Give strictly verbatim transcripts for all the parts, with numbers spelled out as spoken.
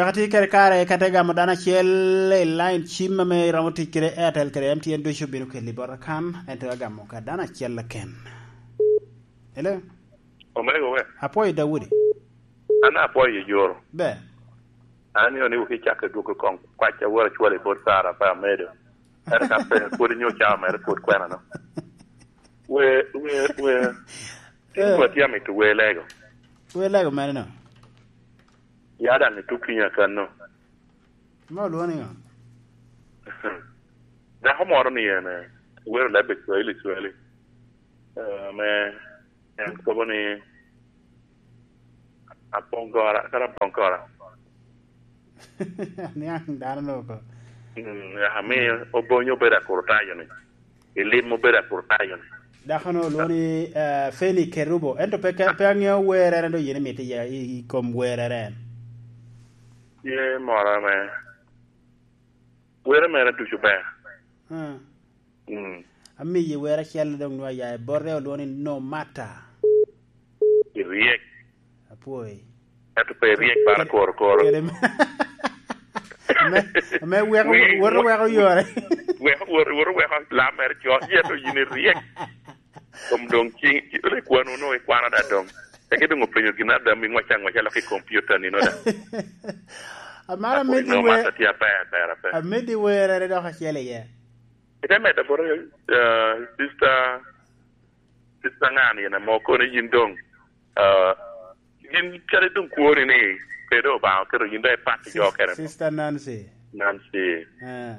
Wek ati kede kare ka te gamo dano acel i line cim ame iromo tic kede Airtel kede M T N ducu bino keli bota kan, ento agamo ka dano acel keken. Hello? Omego we. Apwoyo Daudi. An apwoyo Joro. Ber. An ni oniko ki cak i dwoko kong kwac a wora cwale bot Sara pa amedo. Ere ka pe pwod inyo cawa mere pwod kwena no. We, we, we. Tin Eh. Kwa tye amito we lego. We lego mere no. Ya daŋ ituki nya kan no. Ma olwoni ŋo? Dako moro ni en, eh, wero leb i Swahili, Swahili. Eh, me, en kobo ni, "Apongora, kara apongora." Niaŋ dano no ko. Mm, ya, mi obonyo obedo akurutayo ni. I lim obedo akurutayo ni. Dako no olwoni, eh, Feni Kerubo. Ento pe, pe aŋeo werere do yen imito i, i, i kom werere en. Tye moro ame were mere ducu ber. Hmm. Mm. Amiyi wer acel doŋ nwa ya i bote olwoni No Matter. Iryek. Apwoyi. Ento pe iryek bara koro koro. Kede me, me, me weko, Wi-, woto weko yore. Weko, woto, woto weko lam mere cot. Yen to yin iryek. Kom doŋ cing, ci-, ole kwano no ikwano da doŋ. Eke doŋ openyo gin ada mi ŋwaca ŋwaca lok i kompyuta nino da. Amara Apo medi ino we-, mata tye aber, aber, aber. Amedi werere dok acel iye. Ite medo boro, eh, sister, sister ŋani yen amo kono yin doŋ, eh, yin kadi doŋ kwoni ni pe doŋ Obaŋa oketo yin doŋ ipat i jo Sis-, kene. Sister Nancy. Nancy. Eh.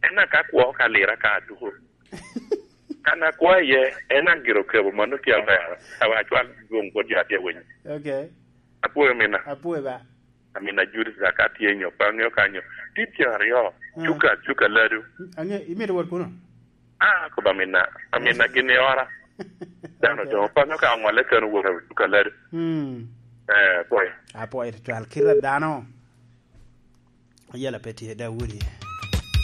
En na ka kwo ka lira ka duko. Kan akwaye, en aŋ gire okebo mano tye aber. Awa acwal dwoŋ bot jo atye winyo. Okay. Apwoyo mina. Apwoyo ba. Amina Judith Zaka tye nyo, pa ŋeo kanyo. Tye tye aryo. Mm. Cuka, cuka ladu. Ange, imito wot kuno? Ah, koba amina. Amina gin i ora. Dano Okay. Doŋ, pa ŋeo ka oŋolle kano wot cuka ladu. Mm. Eh, pwoyo. Apwoyo tutwal. Kira dano. Yela pe tye Daudi.